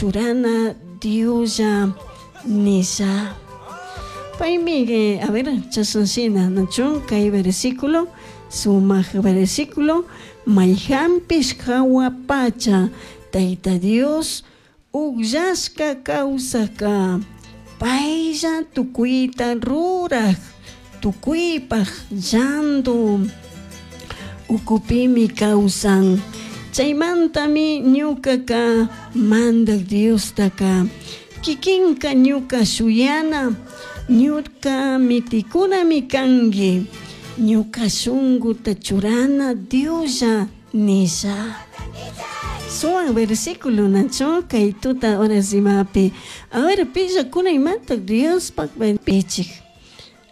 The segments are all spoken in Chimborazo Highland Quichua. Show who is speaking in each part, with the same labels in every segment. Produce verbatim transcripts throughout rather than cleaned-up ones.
Speaker 1: Churana Dioslla nisha. Paymi, a ver, chashanshina nachu kay versículo, sumak versículo, mayhanpish hawa pacha Tayta Dios ukllashka kawsaka paylla tukuyta ruraj tukuypaj llandu ukupimi kawsan. Chaymantami ñukaka Mandak Diostaka kikinka ñuka shuyana ñuka mitikunami kanki ñuka shunkuta churana Dioslla nisha. Sumak versículo nachu kay tuta horas imapi. A ver, pillakuna imata Diospak pichik.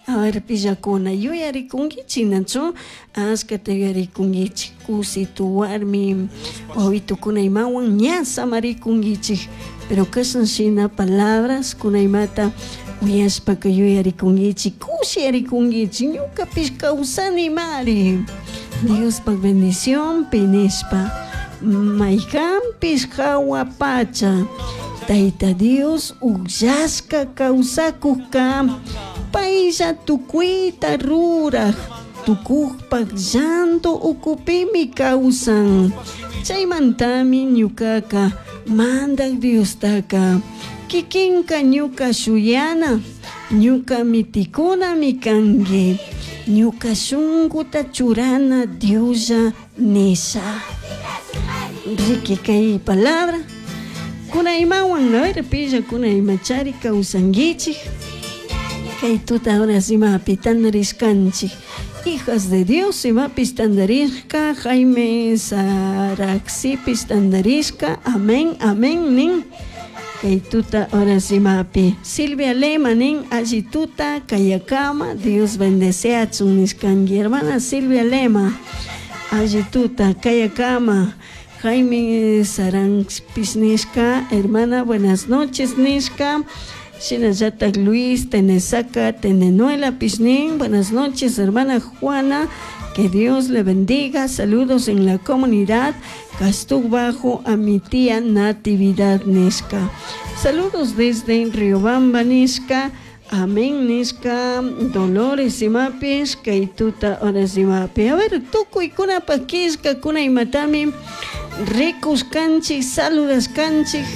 Speaker 1: A ver, pillakuna yuyarikunkichik nachu ashkata yuyarikunkichik kusitu warmi wawitukuna imawan ña samarikunkichik, pero kashan shina palabras kuna imata uyashpaka yuyarikunkichik kushiyarikunkichik ñukapish kawsanimari Diospak bendición nishpa. Mayhanpish hawa pacha Tayta Dios ukllashka kawsakukka paylla tukuyta ruraj tukukpak llanto ukupimi kawsan. Chaymantami ñukaka Mandak Diostaka kikinka ñuka shuyana ñuka mitikunami kanki ñuka shunkuta churana Dioslla nisha. Riki kay palabra kuna imawan, a ver, pilla kuna imachari kawsankichik kay tuta horas imapi tandarishkanchik hijas de Dios imapis tandarishka Jaime Saraxipis tandarishka amén amén nin kay tuta horas imapi Silvia Lema nin alli tuta kayakama Dios bendeseachun nishkanki hermana Silvia Lema alli tuta kayakama Jaime Saranpis nishka hermana buenas noches nishka shinallatak Luis Tenesaca Tenenuela Pishnin, buenas noches hermana Juana, que Dios le bendiga, saludos en la comunidad Castuc Bajo a mi tía Natividad nishka, saludos desde Riobamba nishka, amén nishka, Dolores imapis, kay tuta horas imapi. A ver, tukuykunapak killkakuna imatami rikushkanchik, saludashkanchik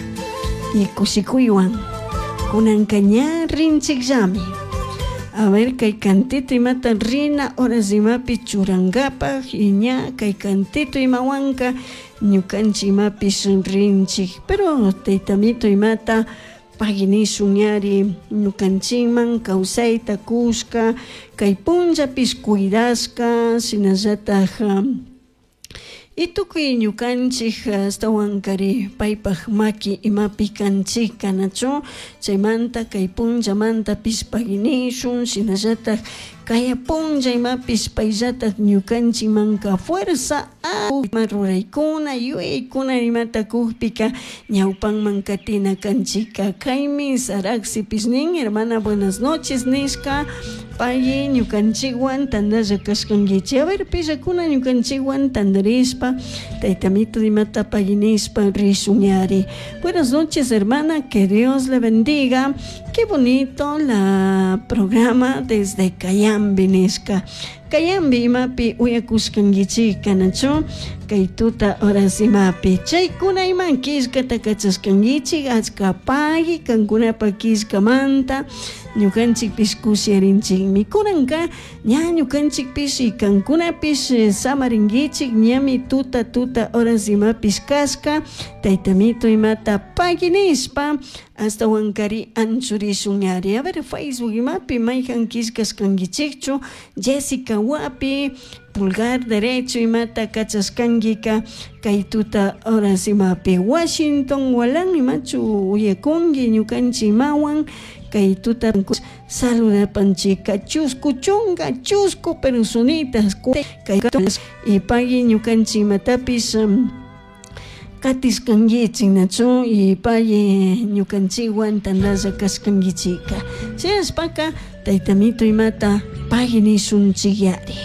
Speaker 1: y kushikuywan kunanka ña rinchikllami. A ver, kay cantito imata rina horas imapi churankapak y ña kay cantito imawanka ñukanchik imapish rinchik, pero taytamito imata pagui nishun ñari ñukanchikman kawsayta kushka kay punllapish cuidashka shinallatak y tukuy ñukanchik ashtawankari paypak maki imapi kanchik kanachu chaymanta kay punllamantapish pagui nishun shinallatak kaya punlla imapish payllatak ñukanchikmanka fuerza ima ruraykuna yuyaykuna imata kukpika ñawpanman katina kanchika. Jaime Saraxipis nin hermana buenas noches nishka pay ñukanchikwan tandalla kashkankichik. A ver, pillakuna ñukanchikwan tandarishpa taytamito imata pagui nishpa rishun. Buenas noches hermana, que Dios le bendiga, qué bonito la programa desde Cayambe nishka. Cayambe imapi uyakushkankichik kanachu kay tuta horas imapi chaykuna iman killkata kachashkankichik achka pagui kankunapak killkamanta ñukanchikpish kushiyarinchikmi kunanka ña ñukanchikpish y kankunapish samarinkichik ñami tuta tuta horas imapish kashka taytamito imata pagui nishpa ashtawankari anchurishun ari. A ver, Facebook imapi mayhan killkashkankichikchu Jessica Wapi pulgar derecho imata kachashkankika kay tuta horas imapi Washington Walan imachu uyakunki ñukanchik imawan kay tuta saludapanchika chusku chunka chusku personitas kay y pagui ñukanchik imatapish katishkankichik nachu y pagui ñukanchikwan tandalla kashkankichika shinashpaka taytamito imata pagui nishunchik yari.